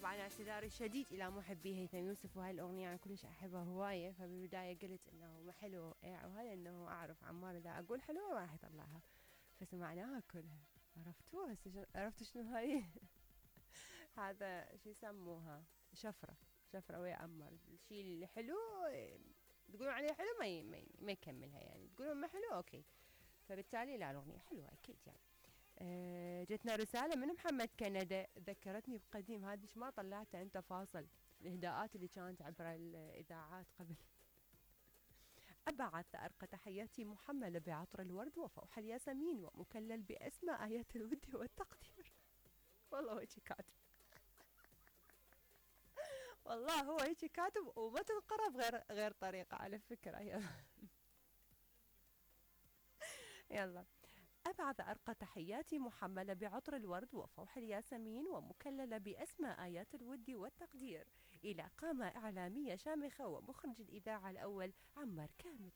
طبعا اعتذاري الشديد إلى محبي هيثم يوسف، وهاي الأغنية أنا كلش أحبها هواية، فبالبداية قلت إنه ما حلو وهذا إنه أعرف عمار إذا أقول حلوة راح يطلعها، فسمعناها كلها. عرفتوا هسه عرفتوا شنو هاي؟ هذا شو يسموها؟ شفرة ويا عمار. الشيء اللي حلو تقولون عليه حلو ما يكملها، يعني تقولون ما حلو أوكي. فبالتالي لا، الأغنية حلوة أكيد يعني. جتنا رسالة من محمد كندا ذكرتني بقديم، هذه ما طلعتها انت فاصل الإهداءات اللي كانت عبر الإذاعات قبل. أبعث أرقى تحياتي محملة بعطر الورد وفوح الياسمين ومكلل بأسماء آيات الود والتقدير. والله هو هيك كاتب، والله هو هيك كاتب وما تنقرأ بغير طريقة على فكرة. يلا. أبعث أرقى تحياتي محملة بعطر الورد وفوح الياسمين ومكللة بأسماء آيات الود والتقدير إلى قامة إعلامية شامخة ومخرج الإذاعة الأول عمار كامل.